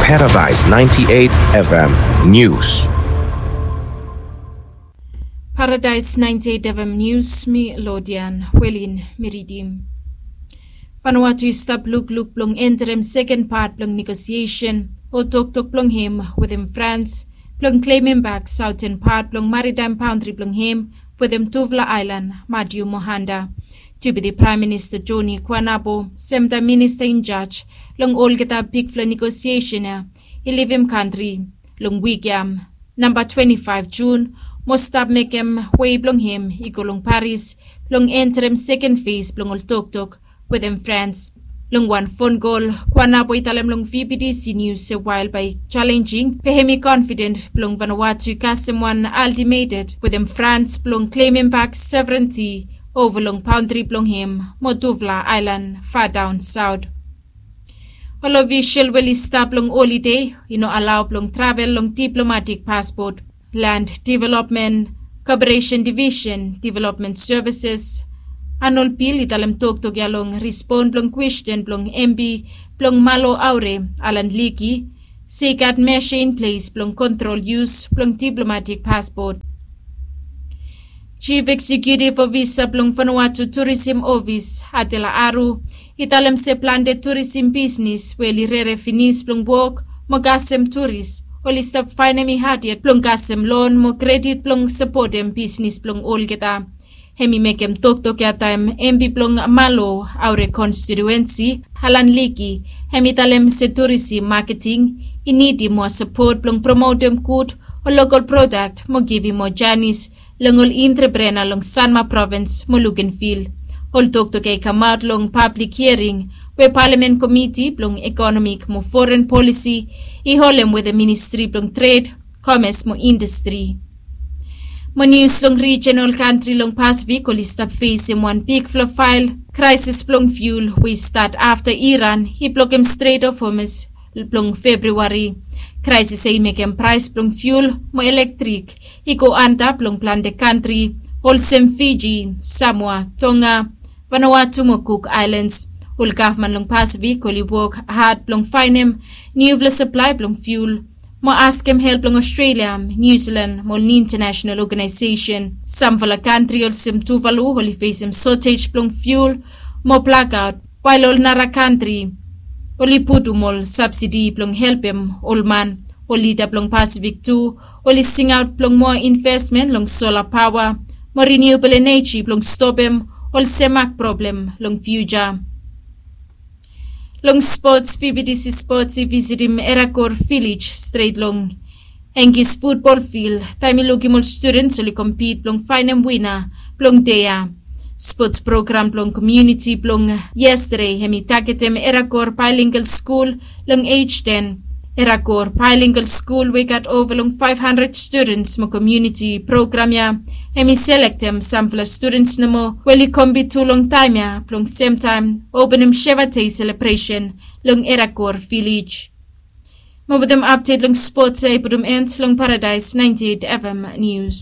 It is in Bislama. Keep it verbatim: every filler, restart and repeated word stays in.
Paradise ninety-eight F M News. Paradise ninety-eight F M News, mi Lodian Welin mi ridim. Vanuatu i stap lukluk blong enterem seken pat blong negosiesen o toktok blong hem wetem Frans blong klemem bak saoten pat blong maritaem baondri blong hem wetem tufala aelan, Matiu Mohanda. Deputi Praem Minista Joni Kuanabo, semtaem minista injaj long olgeta bigfala negosiesen ya, i livim kantri long wik ya, namba twenti faef Jun, mo stap mekem wei blong hem i go long Paris blong enterem seken fes blong ol toktok wetem Frans. Long wan fon kol, Kuanabo i talem long V B T C News se wael bae i jalenjing, be hem i konfiden blong Vanuatu i kasem wan ultimatum wetem Frans blong klemem bak sovereignty ova long baondri blong hem mo tufala aelan fadaon saot. Ol ofisol we oli stap long olide i no alao blong travel long diplomatik paspot. Land Development, Cooperation Division, Development Services, Arnold Bill i talem toktok ya long respon blong kwesten blong M P blong Malo Aure, Alan Liki, se i gat mesa in ples blong kontrol yus blong diplomatik paspot. Chief Executive Officer blong Vanuatu Tourism Office, Adela Aru, i talem se plante turisim bisnis we oli rere finis blong wok mo kasem turis, oli stap faenem i had yet blong kasem lon mo kredit blong sapotem bisnis blong olgeta. Hem i mekem toktok ya taem M P blong Malo Aure konstituensi, Alan Liki, hem i talem se turisim maketing i nidim moa sapot blong promotem gud o lokol prodak mo givim moa janis long ol entreprena long Sanma provins mo Lukenvil. Ol toktok ya i kamaot long pablik hiaring we Palamen Komiti blong Ekonomik mo Foren Polisi i holem wetem Ministri blong Tred, Komes mo Indastri. Mo nius long rijen, ol kantri long Pasifik oli stap fesem wan bigfala fael kraesis blong fiul we i stat afta Iran i blokem Stret of Hormuz long Febriuari. Kraesis ya i mekem praes blong fiul mo elektrik i go antap long plante kantri olsem Fiji, Samoa, Tonga, Vanuatu mo Cook Islands. Ol gavman long Pasifik oli wok had blong faenem niufala saplae blong fiul mo askem help long Australia, New Zealand mo ol intanasenal oganaesesen. Samfala kantri olsem Tuvalu oli fesem sotej blong fiul mo blakaot, wael ol nara kantri oli putum ol sabsidi blong helpem ol man. Ol lida blong Pasifik tu oli singaot blong moa invesmen long sola paoa mo riniubol eneji blong stopem ol semak problem long fiuja. Long spots, V B T C Spots i visitim Erakor Vilej stret long Engis futbol fil taem i lukim ol studens oli kompit blong faenem wina blong dei ya. Spots program blong komuniti blong yestade hem i tagetem Erakor Baelingal Skul long ej ten. Erakor Baelingal Skul we i gat ova long faef handred studens mo komuniti program ya hem i selektem samfala studens nomo we oli kompit tu long taem ya blong semtaem openem Sheva Dei selebresen long Erakor Vilej. Mo wetem apdet long spots ya i putum en long Paradaes naenti eit F M Nius.